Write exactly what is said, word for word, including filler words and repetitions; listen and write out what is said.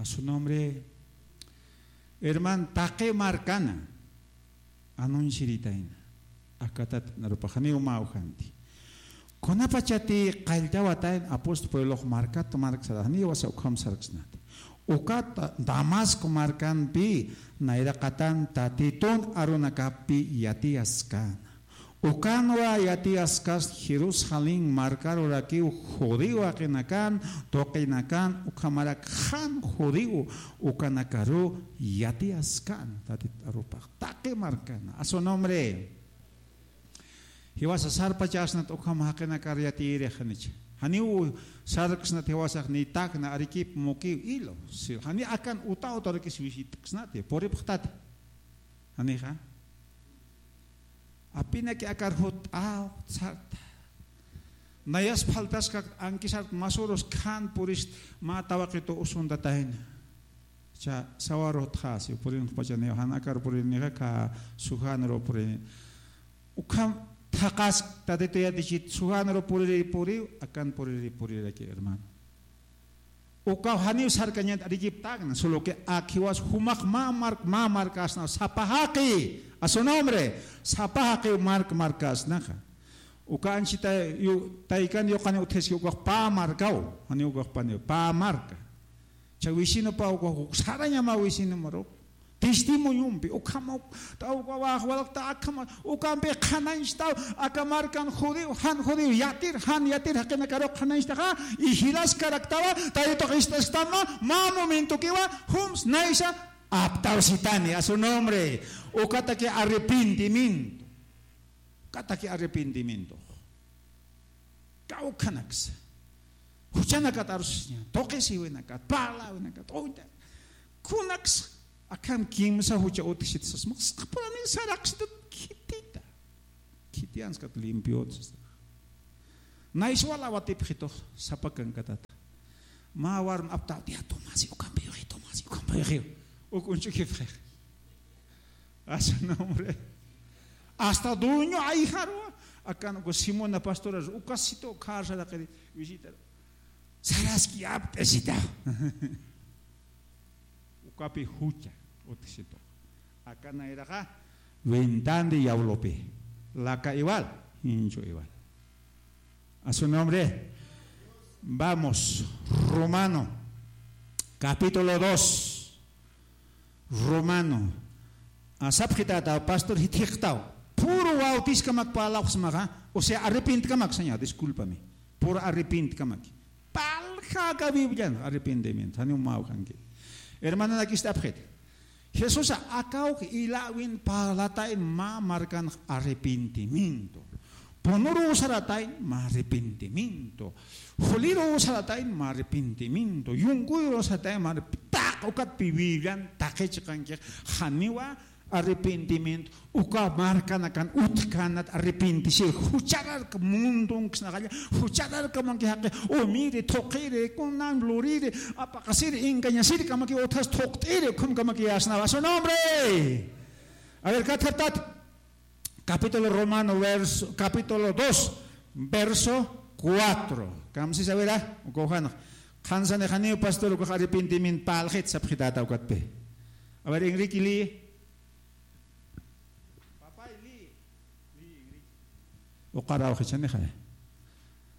Su nombre, herman, taqi markana anunciaritayna. Akatat narupaxaniw mä ujanti. Kunapachati qalltawatayn apóstol Pablox markat marksaraxniwasa ukham sarksnati. Ukat Damasco markanpi nayraqatan Tatitun arunakappi yatiyaskäna. Ukanwa yatiyaskas Jerusalén markarurakiw judío jaqinakan, tuqinakan, ukhamarak jan judío ukanakaru yatiyaskan, Tatit arupax taqi markana. A su nombre. Jiwasa sarpachasnat ukham jaqinakar yatiyirix janicha. Janiw sarksnat jiwasax ni Tacna, Arequipa, Moquegua, Ilo. Si, jani akan uta utarakis visitaksnati, puripxtati. Janixa. Apinaki akar jut'aw sarta. Nayas faltaskak ankisar masurus khan purist mä tawaqitu usuntatayna. Cha sawarutxasi purinxpachaniw jan akar purinixa ka sujanru purini. Ukham thaqask Tatitu yatichit sujanru puriri puriw, akan puriri puriraki, hermano. Ukaw janiw sarkañat Arequipa, Tacna, solo que akhiwas jumax mä mark, mä markasnaw sapa jaqi, a su nombre, sapa jaqi mark markasnaxa. Uka anchita yu-, taykan yuqani utjiski ukax pä markaw, janiw ukax paniw, pä marka. Cha vecinopa ukax sarañama vecinomaru. Testimoniompi, ukhama, ta uka wax walaqta akhama, ukampi qhanañchtaw, aka markan judío, jan judío, yatir, jan yatir jaqinakaru qhanañchtaxa, y jilaskaraktawa, Tatitux ist'asktanma, mä momentokiwa, jums naysa, aptawsitani, a su nombre, ukataki arrepentimiento, ukataki arrepentimiento. Kawkhanaksa. Juchanakat arusiña, tuqisiwinakat, parlawinakat, uyta. Kunaksa, akham kimsa jucha utjsit sasmax, saqpurani saraqsitut khitita. Khitiyanskat limpio utjsita. Nayswal awatipxitux, sapakankatata. Mä warm aptaw, tía, tomasi, ukampi yuxi, tomasi, ukampi yuxi. Uk unchukipxi. A su nombre. Hasta dueño ayjarwa. Akan uka Simona pastora, ukasitu kharsaraqiri visitar. Saraski apt'asita. Ukapi jucha, utjsitu. Akan ayraqa, ventandi diablopi. Laka igual, hinchu igual. A su nombre. Vamos, Romano, capítulo dos. Romano. Sapxitata, pastor, jithiqtaw. Puro bautiskamak parlawxsmaxa, o sea, arrepentkamak, señor, discúlpame. Puro arrepentkamak. Parlxaka Biblian, arrepentimiento. Janiw mä ujanki. Hermananakista apxit. Jesusa akawk ilawin parlatayn mä markan arrepentimiento. Punuruw saratayn mä arrepentimiento. Juliruw saratayn mä arrepentimiento. Yunkuyruw saratayn mä arrep-, taq ukatpi Biblian taqi chiqankix janiwa arrepentimiento. Uka markanakan utjkänat arrepentisir. Jucharark mundunksnaxalla. Juchararkamanki jaqi. Umiri, thuqiri, kunan luriri, apaqasiri, engañasiri kamaki utjas thuqt'iri, ukham kamaki asnawa. A su nombre. A ver, kathartat. Capítulo Romano, verso, capítulo dos, verso cuatro. Kamsisa wira, uka ujanx. Qhansanix janiw pastor ukax arrepentimiento parlxit sapxitata ukatpi. A ver, Enrique, lee. Papay, lee. Lee, Enrique. Uqarawxichanixa.